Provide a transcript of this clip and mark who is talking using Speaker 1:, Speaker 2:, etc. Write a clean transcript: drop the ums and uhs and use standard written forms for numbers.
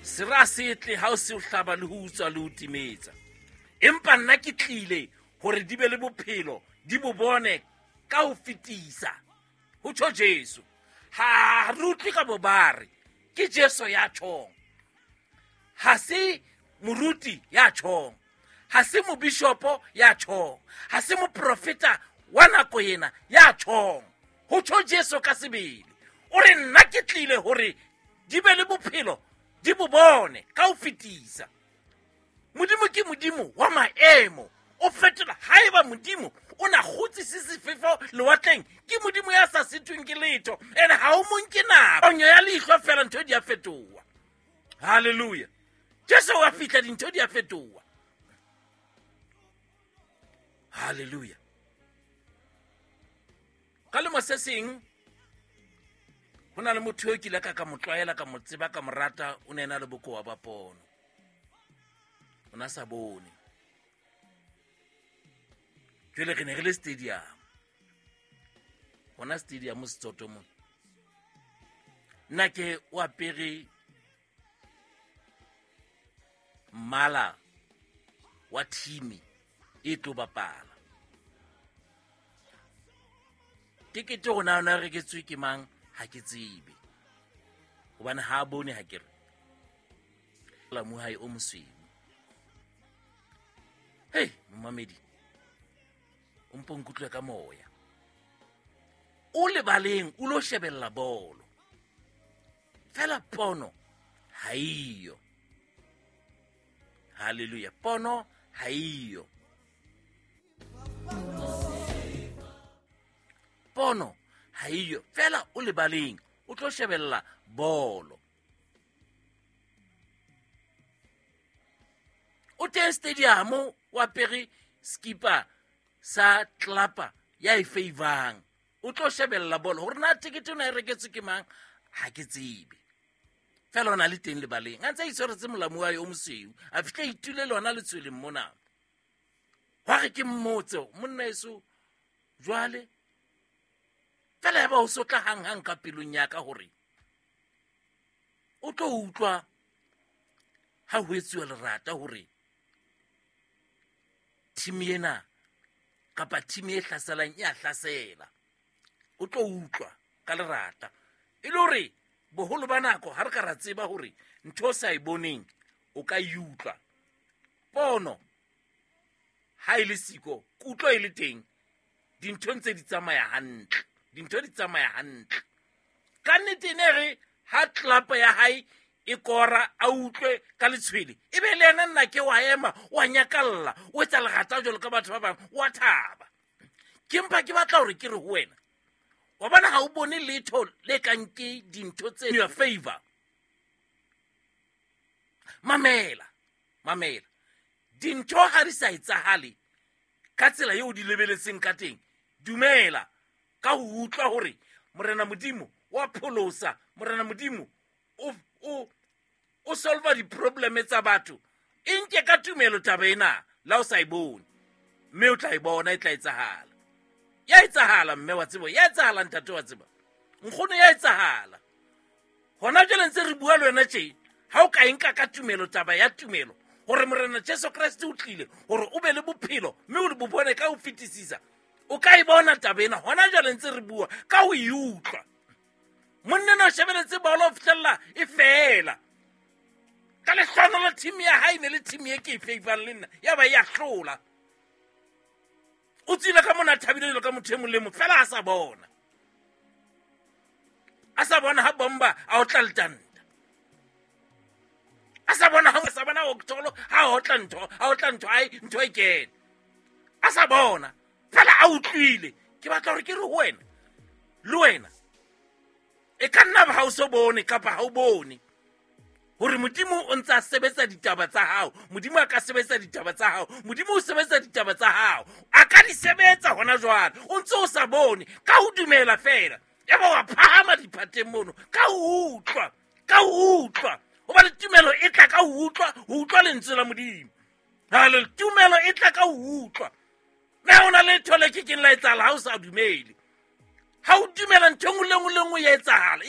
Speaker 1: Sera se tle ha o se o hlaba le ho utswa le ho timetsa. Empa nna ke tlile hore di be le bophelo, di bo bone ka ho fetisa. Ho tjho Jesu. Ha re utlwe ka bobare, ke Jesu ya tjhong. Ha se moruti ya tjhong. Ha se mobishopo ya tjhong. Ha se moprofeta wa nako ena ya tjhong. Ho tjho Jesu ka sebele. O re nna ke tlile hore di be le bophelo, di bo bone ka ho fetisa. Modimo ke Modimo wa maemo. O fetola haeba Modimo o na kgutsise sefefo lewatleng, ke Modimo ya sa sitweng ke letho. Ene ha o mo nke nako. Ponyo ya leihlo fela ntho di a fetoha. Hallelujah. Jesu wa fihla dintho di a fetoha. Hallelujah. Ka lemo se seng ho na le motho eo ke ile ka mo tlwaela, ka mo tseba, ka mo rata, o ne a na le bokowa ba pono. O na sa bone. Jwale re ne re le stadium. Hona stadium Setsoto mona. Nna ke o apere mmala wa thimi e tlo bapala. Tekete hore na o na reketswe ke mang ha ke tsebe. Hobane ha a bone ha ke re. La mohae o mosweu. Hei, momamedi, o mpo nkutlwe ka moya. O lebaleng, o lo shebella bolo. Fela pono ha eyo. Hallelujah. Pono ha eyo. Pono ha eyo. Fela o lebaleng, o tlo shebella bolo. O teng stadium o apere skipa sa tlapa ya e favang. O tlo shebella bolo. Hore na tekete o na e reketswe ke mang ha ke tsebe. Fela o na le teng lebaleng. A ntse a itshwaretse molamu wa hae o mosweu. A fihla a itule le hona letshweleng mona. Hwa re ke mmotse, monna eso jwale. Fela ya ba o sotla hang-hang ka pelong ya ka hore o tlo utlwa ha ho etsuwa lerata hore team ena kapa team e hlaselang e a hlasela. O tlo utlwa ka lerata. E le hore boholo ba nako ha re ka ra tseba hore ntho o sa e boneng o ka e utlwa. Pono ha e le siko, kutlo e le teng, dintho ntse di tsamaya hantle. Dintho di tsamaya hantle. Ka nnete ne re ha tlelapa ya hae e kora a utlwe ka letshwele, e be le yena nna ke wa ema, wa nyakalla, o etsa lerata jwalo ka batho ba bang, wa thaba. Ke mpa ke batla hore ke re ho wena, wa bona ha o bone letho le kang ke dintho tse in your favor. Mamela, mamela. Dintho ha di sa etsahale ka tsela eo di lebeletseng ka teng, dumela ka ho utlwa hore Morena Modimo wa pholosa, Morena Modimo o solva di-problem tsa batho. E nke ka tumelo taba ena, la o sa e bone, mme o tla e bona e tla etsahala. Ya etsahala mme wa tseba, ya etsahala ntate wa tseba, nkgono ya etsahala. Hona jwale ntse re bua le wena tje, ha o ka e nka ka tumelo taba ya tumelo hore Morena Jesu Kreste o tlile hore o be le bophelo mme o bo bone ka ho fetisisa, o ka e bona taba ena hona jwale ntse re bua ka ho e utlwa. Monna ena o shebeletse bolo ho fihlella e fela. Ka lehlohonolo team ya hae ne le team e ke e favang le nna, ya ba ya hlola. O tswile ka mona a thabile jwalo ka motho e mong le mong, fela a sa bona. A sa bona ha bomba a otla letanta. A sa bona ha sa bona Octolo ha otla ntho, a otla ntho, ai ntho e kene. A sa bona, fela a utlwile. Ke batla hore ke re ho wena, le wena e ka nna ba ha o so bone kapa ha o bone hore Modimo o ntse a sebetsa ditaba tsa hao. Modimo a ka sebetsa ditaba tsa hao. Modimo o sebetsa ditaba tsa hao. A ka di sebetsa hona jwale. O ntse o sa bone ka ho dumela fela. Ya ba wa phahama diphateng mono ka ho utlwa, ka ho utlwa. Hobane tumelo e tla ka ho utlwa, ho utlwa lentswe la Modimo. Hallelujah. Tumelo e tla ka ho utlwa. Na ho na le letho le ke keng la etsahala ha o sa dumele. Ha o dumela ntho e nngwe le nngwe le nngwe ya etsahala.